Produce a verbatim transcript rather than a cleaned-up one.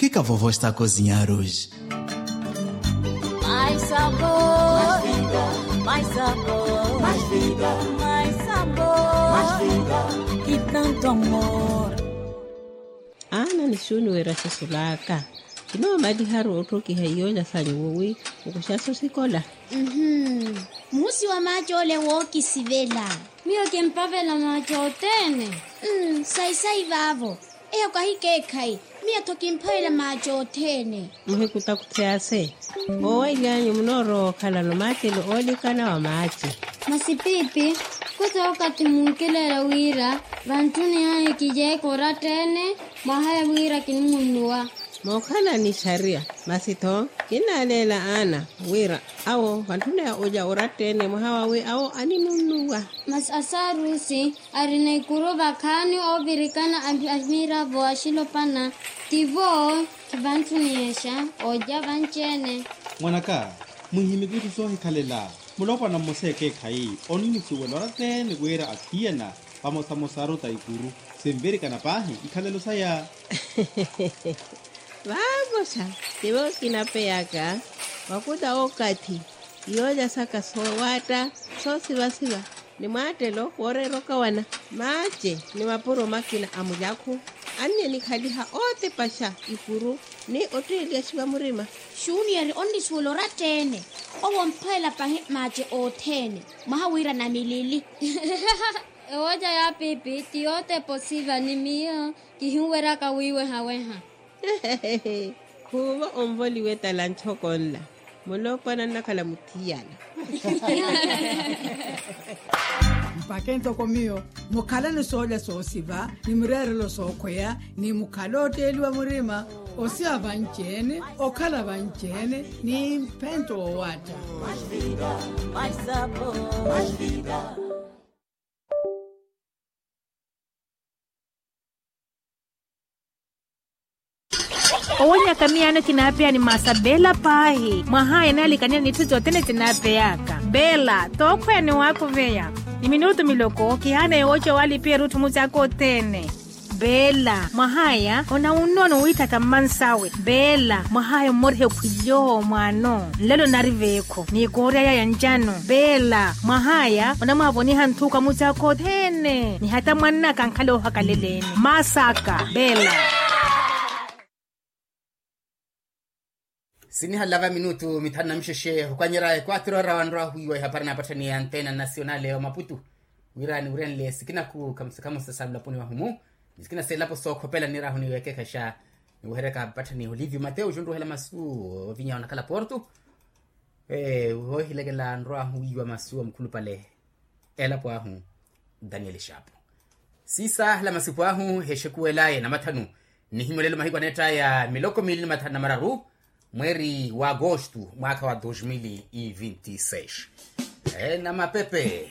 Fica vovó está a cozinhar hoje. Mais sabor, mais vida, mais sabor, mais vida, mais sabor, mais vida, e tanto amor. Ana nixuuni wira xisulaaka. Kinoomaliharu otthokiha iyoola sanyu wowi, okuxaso sikola. Muhusi wa maaci ole wookisivela. Miyo kimpavela maaci othene. Sayi-sayi vaavo. Eyo kahikeekhayi. Miyo-tho kimpavela maaci othene. Muhikutakuthi ase. Oowaily'anyu munoorowa okhalano maacelo oolikana wa maaci. Masi piipi, khuta okathi munkileela wira vantthuni ahi kijeeka oratta-ene. Mwaha ya wira kinimunnuwa. Mookhala ni xariya. Masi-tho kinnaaleela ana wira awo vantthuni ya olya oratta-ene mwaha wawi awo animunnuwa. Masi asaarusi arina ikuru vakhaani oovirikana a miiravo axilopana. Tivo kivantthuniyexa olya vanci-ene. Mwanaka, muhimiki itthu soohikhalela. Mulopwana mmosa ekeekhayi onnusuwela oratta-ene wira athiyana vamosamosa aruta ikuru. Sinvirikana paahi ikhalelo saya. Vaakoxa tivo kinapeyaka. Wakuta okathi iyooja saka soowaatta soosivasiva ni mwaattelo wooreera okawana. Maace ni mapuro makina a mulyakhu anniye nikhaliha ootepaxa ikuru ni otteeliyaxiwa murima. Xuniyeri onnisuwela oratta-ene. Owo omphwelela pahi maace othene. Mwaha wira namilili. Ewooja ya piipi ti yootepa osiva ni miyo kihinweryaka wiiwehaweha. Khuuvo onvoliwe tala ntxoko nla. Mulopwana nnakhala muthiyana. Mpakhe ntoko miyo mukhalani soolya soosiva ni mireerelo sookhweya ni mukhala otteeliwa murima. Osiva vanci-ene okhala vanci-ene ni mphento woowaatta. Owonyaka miyaano kinaapeya ni maasa beela paahi mwahaya enaalikaniya n'itthu sothene sinaapeyaka. Beela tookhweya ni waakuveya ni minutu miloko kihaana yowooca waalipiya erutthu mucaaka othene. Beela mwahaya onawunnono wiitthaka mmansawe. Beela mwahaya ommoriha ekhwilyo mwaano nlelo nari veekho ni kooryaya ya ncano. Beela mwahaya onamwaavoniha nthuuka mucaaka othene ni hata mwannaka ankhala oohakaleleni maasaka. Beela. Sinihalava minutu mithanu na mixexe okwanyerya ekwatiro ora wanrwa ahuiwa ehapari naapatthaniya antena nasionale wa maputu. Wira niwurenle sikinaku khamusa khamusa sa lulaponi wahumu ni sikina selapo sookhopela nirahu niwekeekhexa niwehereka patthaniya olivio mateo junruhela masu ovinya onakhala porto. Woohilekela nrwa ahuiwa masu wa mukhulupale elapo ahu daniel shapu. Sisahala masipu ahu hexekuwelaye namathanu nihimyolelo mahiku aneettaya miloko miili ni mathanu na mararu mweeri wa agosto mwaakha wa dos mil e vinti seis. Namapepe.